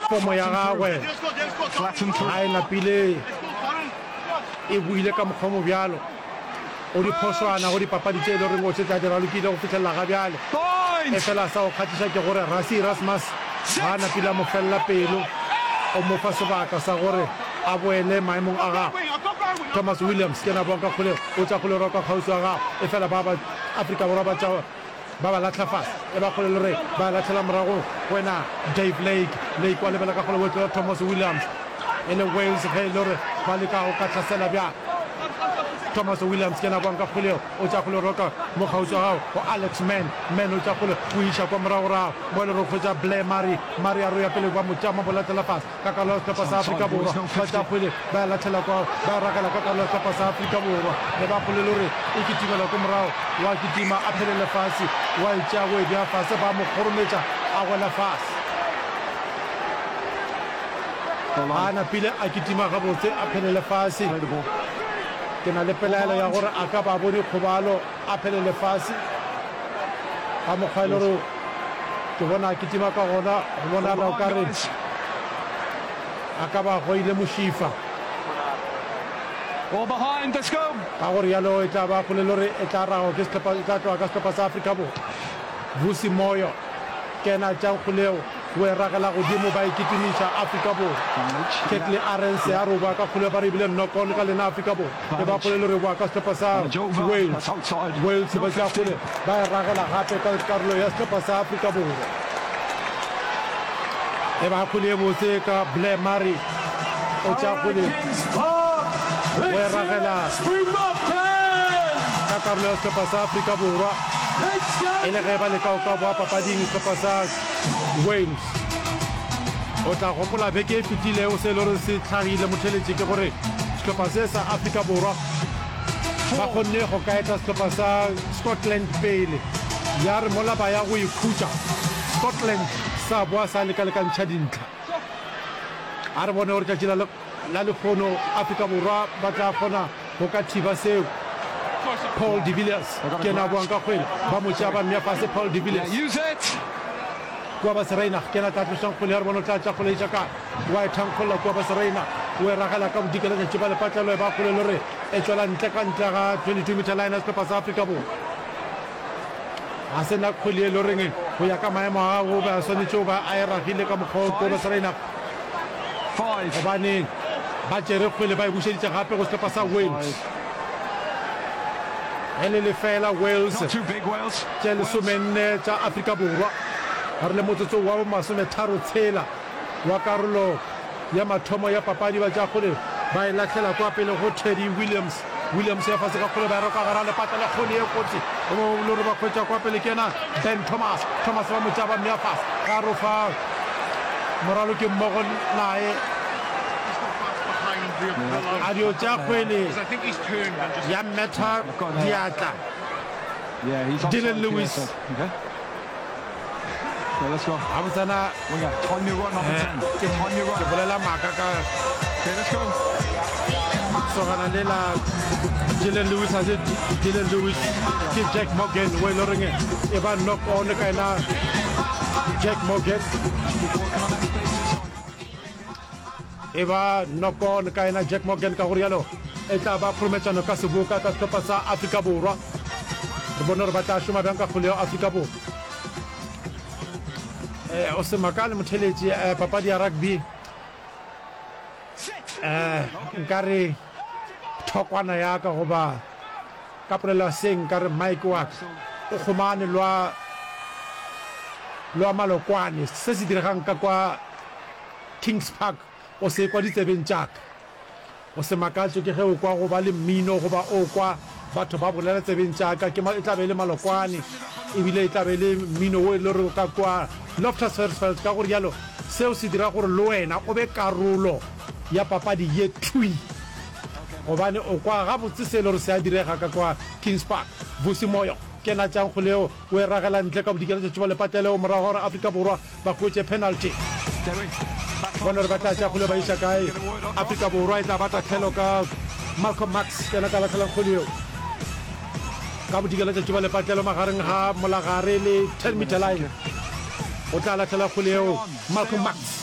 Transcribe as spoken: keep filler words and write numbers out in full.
Fomo ya gagwe ga e napile e buile ka mokgwa mo bjalo. O diphošwana go dipapadi tše e le goreng o šetše a di ralokile go fihlelela ga bjale. Efela sa go kgahliša ke gore Rassie Erasmus ga a napile a mo felela pelo, o mo fa sebaka sa gore a boele maemong a gagwe. Thomas Williams ke yena a boang ka kgolego, o tša kgole roka kgauswi wa gagwe, efela ba ba Afrika Borwa ba tša ba ba lahla fase, e ba kgole le re ba lahlela morago go wena Dave Lake. Lake wa lebela ka kgole o tlola Thomas Williams, e le Wales ge e le gore ba leka go ka hlasela bjang. Thomas Williams ke yena a boang ka kgole, o tša kgole roka mo kgauswi wa gago go Alex Mann. Mann o tša kgole o iša kwa moragorago mo e le gore o hwetša Blair Murray. Murray a re o ya pele ba mo tšama mo lahlela fase ka karolo ya sehlopha sa Afrika Borwa. Ba tša kgwele ba e lahlela kwa ba e ragela ka karolo ya sehlopha sa Afrika Borwa. E ba kgole le gore e kitimela ko morago, wa kitima a phelele fase, wa e tšea go e bea fase, ba mo kgorometša a wela fase. A napile a kitima gabotse a phelele fase. Ke na le pelaelo ya gore a ka ba a bone kgobalo a phelele fase ka mokgwa e le gore ke bona a kitima ka gona, go bonala o ka re a ka ba a goile mošifa. Ka go rialo e tla ba kgole le gore e tla ragwa ke sehlopha, e tla tloga ka sehlopha sa Afrika Borwa. Vusi Moyo ke yena a tšeang kgole yeo. O e ragela godimo, ba e kitimiša Afrika Borwa. Kurt-Lee Arendse a re o boa ka kgole, ba re ebile knock-on ka lena Afrika Borwa. E ba kgole le re boa ka sehlopha sa Wales. Wales ba tšea kgole, ba e ragela gape ka karolo ya sehlopha sa Afrika Borwa. E ba kgole e botse ka Blair Murray, o tšea kgole, o e ragela ka karolo ya sehlopha sa Afrika Borwa. E le ge ba leka go ka boa papading sehlopha sa Wales. O tla gopola beke e fetilego se e le gore se hlagile motheletši ke gore sehlopha se sa Afrika Borwa ba kgonne go ka eta sehlopha sa Scotland pele, ya re mola ba ya go ikhutša Scotland sa boa sa lekalekantšha dintlha. A re bone gore tšatši la la lehono Afrika Borwa ba tla kgona go ka thiba seo. Paul de Villiers ke yena a boang ka kgwele, ba mo tšea ba mmea fase. Paul de Villiers kua ba Sereinag ke yena a tla tlošang kgwele ya re bona o tla tša kgwele e tša kae, wa e thankgolla kua ba Sereinag, o e ragela ka bodikela tšatši ba lepatlelo e ba kgwele le re e tšwela ntle ka ntle ga twenty-two meter line ya sehlopha sa Afrika Borwa. Ga se na kgwele e le goreng go ya ka maemo a gagwe o be a swanetše go ba a e ragile ka mokgwa o kua ba Sereinag. Gobane ba tšere kgwele ba e bušeditše gape go sehlopha sa Wales. Ge le lefela Wales tše lesomenne tša Afrika Borwa. Re le motsotsong wa bomasometharo tshela wa karolo ya mathomo ya papadi, ba tšea kgwele ba e lahlela kwa pele go Teddy Williams. Williams ya fase ka kgwele ba e roka gara lepatla le kgwele ye kotsi o le gore ba hwetša kwa pele ke yena Ben Thomas. Thomas ba mo tšea ba mmea fase ga rofa moraloki mmogo naye a dio tšea kgwele ya mmetha diatla Dylan Lewis. Gabotsana ke bolela maaka ka sogana le la Dylan Lewis, ga se Dylan Lewis, ke Jack Morgan o e le goreng e ba knock on ka ena Jack Morgan, e ba knock on ka ena Jack Morgan. Ka go rialo e tla ba kgorometšano ka seboka ka sehlopha sa Afrika Borwa. Re bone gore ba tla šoma bjang ka kgole ya Afrika Borwa. Eh, o se makale motheletši, eh, papadi ya rugby eh, nkare thokwana ya ka goba ka polelo ya seng nkare mike wa ka o kgomane lwa lwa malokwane se se diregang ka kwa Kings Park o se kwa ditsebeng tša ka. O se makatšwe ke ge o kwa go ba le mmino goba o kwa batho ba bolela tsebeng tša ka. Ke, e tla be e le malokwane, ebile e tla be e le mmino wo e le gore o ka kwa Loftus Versfeld. Ka go rialo, seo se dira gore le wena o be karolo ya papadi ye thwi, gobane o kwa gabotse se e le gore se a direga ka kwa Kings Park. Vusi Moyo ke yena a tšeang kgwele yeo, o e ragela ntle ka bodikela tša tšuba lepatlelo morago ga gore Afrika Borwa ba hwetše penalty. Bone gore ba tla tšea kgwele ba iša kae. Afrika Borwa e tla ba tahlelo ka Malcolm Marx, ke yena tla lahlelang kgwele yeo ka bodikela tša tšuba lepatlelo magareng ga molagare le ten meter line. O tla lahlela kgwele yeo Malcolm Marx.